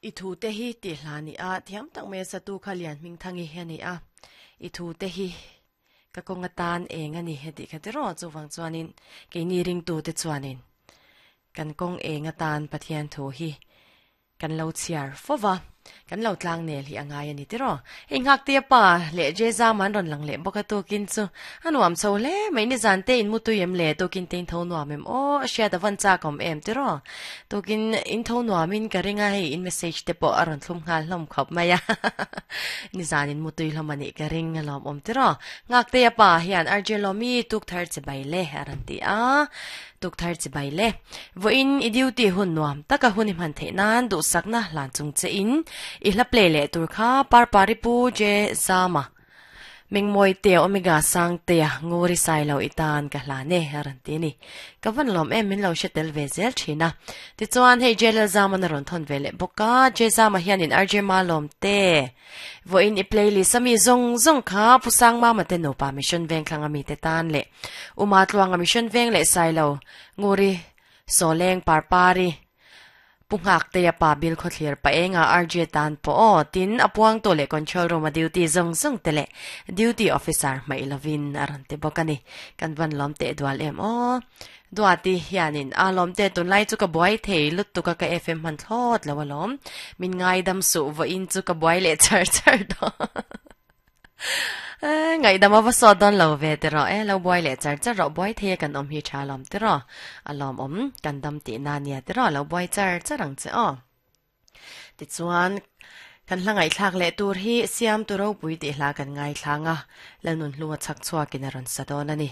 I thu te hi tih hla ni a, thiam tak mai a satu kha Lian Hmingthangi hi a ni a. I thu te hi ka kawng atan eng a ni he tih kha tiraw chuvang chuanin keini ringtu te chuanin kan kawng eng atan Pathian thu hi Kan lo chhiar fo va, kan lo tlang nel hi a ngai a ni tiraw? Hei Nghaktea pa leh Jezama an rawn lang leh bawk a tukin chu a nuam chho hle mai nizan te in mu tui em le tukin te in tho nuam em aw a hriat a van chak awm em tiraw? Tukin in tho nuam in ka ring a hei in message te pawh a rawn thlum nghal hlawm khawp mai a nizan in mu tui hlawm a nih ka ring a lawm awm tiraw? Nghaktea pa hian RJ Lawmi tuk thar che bai le a rawn ti a. Tukthar chibai le. Vawiin i duty hun nuam taka hun i hman theih nan duhsakna hlan chung che in i hla play leh tur kha Parpari Pu Je Zama Mengmawi tea Omega Sang tea Nguri Sailo i tan ka hlan e a rawn ti a ni. Ka van lawm em min lo hre tel ve zel thin a. Tichuan hei J Lalzama'n a rawn thawn ve leh bawk a, J Zama hianin RJ Malawm te Vawiin i playlist a mi zawng zawng kha Pu Sangmama te nupa Mission Vengthlang a mite tan leh Uma Tluanga Mission Veng leh Sailo Nguri Sawleng Parpari Pu Nghaktea pa Bill Khawthlir Paenga RJ tan pawh aw tin a puangtu leh control room a duty zawng zawng te leh duty officer hmaih lovin a rawn ti bawk a ni. Kan van lawm teh dual em aw. Duati hianin a lawm te tunlai chu ka buai thei lutuk a ka FM hman thlawt lo alawm. Min ngaidam suh vawiin chu ka buai leh char char dawn. Ngaihdam a va sawt dawn lo ve ti rawh e, lo buai leh char char rawh buai thei a kan awm hi tha alawm ti rawh. A lawmawm kan dam tihna nia ti rawh lo buai char char ang che aw. Tichuan, kan hla ngaihthlak leh tur hi Siamtu ropui tih hla kan ngaithlang a, Lalnunhlunga chhak chhuakin a rawn sa dawn a ni.